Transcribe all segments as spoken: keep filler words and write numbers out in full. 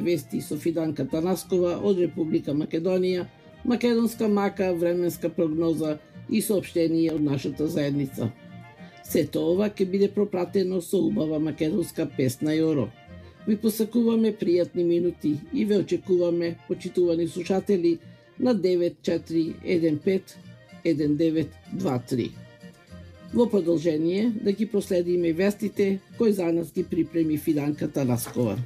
Вести со Фиданка Танаскова од Република Македонија, македонска мака, временска прогноза и соопштение од нашата заедница. Сето ова ќе биде пропратено со убава македонска песна Јоро. Ви посакуваме пријатни минути и ве очекуваме, почитувани слушатели, на девет четири еден пет еден девет два три. Во продолжение да ги проследиме вестите кои за нас ги припреми Фиданка Танаскова.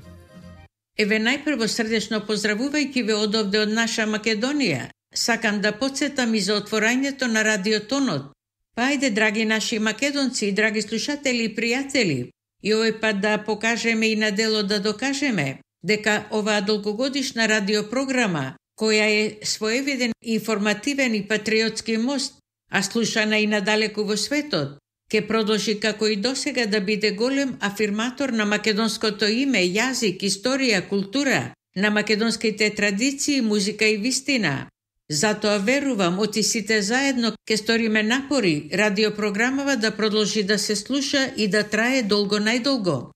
Еве најпрво срдечно поздравувајќи ве одовде од наша Македонија, сакам да подсетам и за отворањето на радиотонот. Па ајде, драги наши македонци и драги слушатели и пријатели, и овој пат да покажеме и на дело да докажеме дека оваа долгогодишна радиопрограма, која е своевиден информативен и патриотски мост, а слушана и надалеку во светот, ќе продолжи како и досега да биде голем афирматор на македонското име, јазик, историја, култура, на македонските традиции, музика и вистина. Затоа верувам, оти сите заедно ќе сториме напори радиопрограмава да продолжи да се слуша и да трае долго најдолго.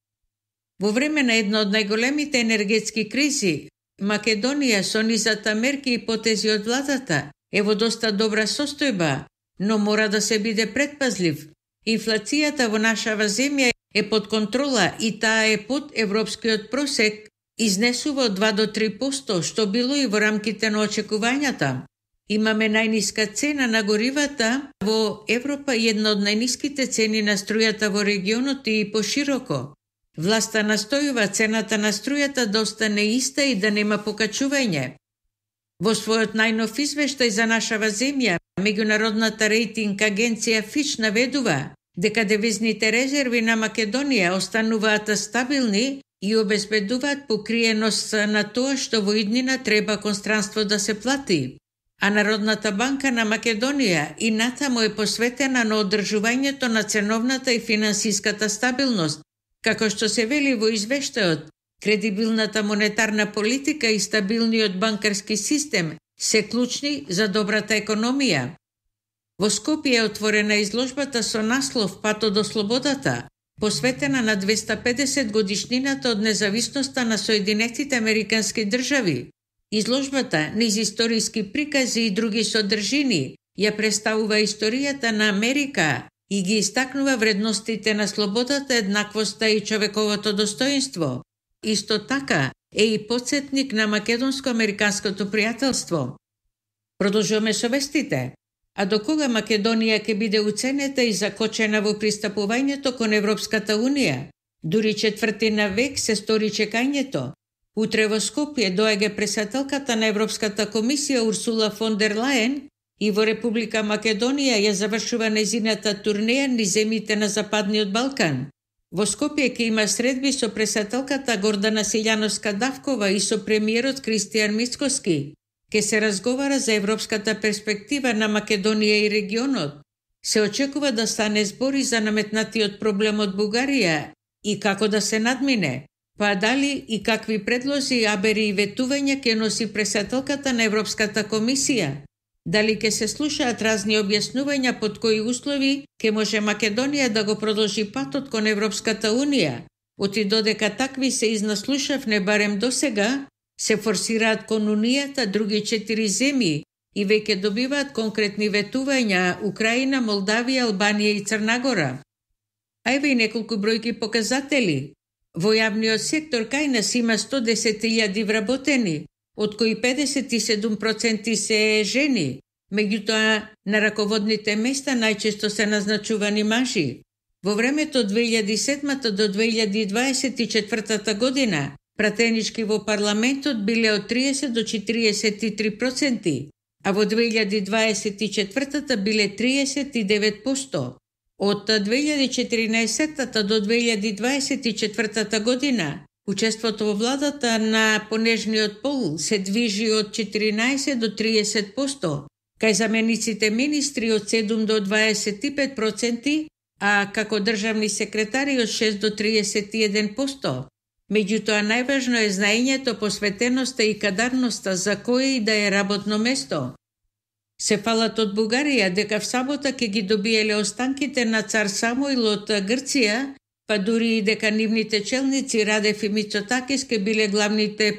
Во време на една од најголемите енергетски кризи, Македонија со низата мерки и потези од владата е во доста добра состојба, но мора да се биде предпазлив. Инфлацијата во нашава земја е под контрола и таа е под европскиот просек, изнесува од два до три проценти, што било и во рамките на очекувањата. Имаме најниска цена на горивата во Европа и една од најниските цени на струјата во регионот и пошироко. Власта настојува цената на струјата да остане иста и да нема покачување. Во својот најнов извештај за нашава земја, меѓународната рейтинг агенција Фич наведува дека девизните резерви на Македонија остануваат стабилни и обезбедуваат покриеност на тоа што во иднина треба кон странство да се плати. А Народната банка на Македонија и натаму е посветена на одржувањето на ценовната и финансиската стабилност. Како што се вели во извештајот, кредибилната монетарна политика и стабилниот банкарски систем се клучни за добрата економија. Во Скопје е отворена изложбата со наслов Патот до слободата, посветена на двеста педесет годишнината од независноста на Соединетите Американски држави. Изложбата, низ историски прикази и други содржини, ја представува историјата на Америка и ги истакнува вредностите на слободата, еднаквоста и човековото достоинство. Исто така е и потсетник на македонско-американското пријателство. Продолжуваме со вестите. А до кога Македонија ќе биде уценета и закочена во пристапувањето кон Европската Унија? Дури четвртина век се стори чекањето. Утре во Скопје доаѓа председателката на Европската комисија Урсула фон дер Лајен и во Република Македонија ја завршува незината турнеја низ земјите на Западниот Балкан. Во Скопје ќе има средби со председателката Гордана Силјановска-Давкова и со премиерот Кристијан Мицкоски. Ке се разговара за европската перспектива на Македонија и регионот. Се очекува да стане збори за наметнатиот проблем од Бугарија и како да се надмине, па дали и какви предлози, абери и ветувања ќе носи председателката на Европската комисија. Дали ќе се слушаат разни објаснувања под кои услови ќе може Македонија да го продолжи патот кон Европската Унија. Оти додека такви се изнаслушавне барем досега, се форсираат кон Унијата други четири земји и веќе добиваат конкретни ветувања Украина, Молдавија, Албанија и Црнагора. Ајве и неколку бројки показатели. Во јавниот сектор кај нас има сто десет илјади вработени, од кои педесет и седум проценти се жени, меѓутоа на раководните места најчесто се назначувани мажи. Во времето од две илјади и седма до две илјади и дваесет и четвртата година, пратенички во парламентот биле од триесет до четириесет и три проценти, а во две илјади дваесет и четвртата биле триесет и девет проценти. Од две илјади и четиринаесетта до две илјади дваесет и четвртата година, учеството во владата на понежниот пол се движи од четиринаесет до триесет проценти, кај замениците министри од седум до дваесет и пет проценти, а како државни секретари од шест до триесет и еден проценти. Меѓутоа најважно е знаењето, посветеноста и кадарноста за кое и да е работно место. Се фалат од Бугарија дека в сабота ќе ги добиеле останките на цар Самуил од Грција, па дури и дека нивните челници Радев и Мицотакис ке биле главните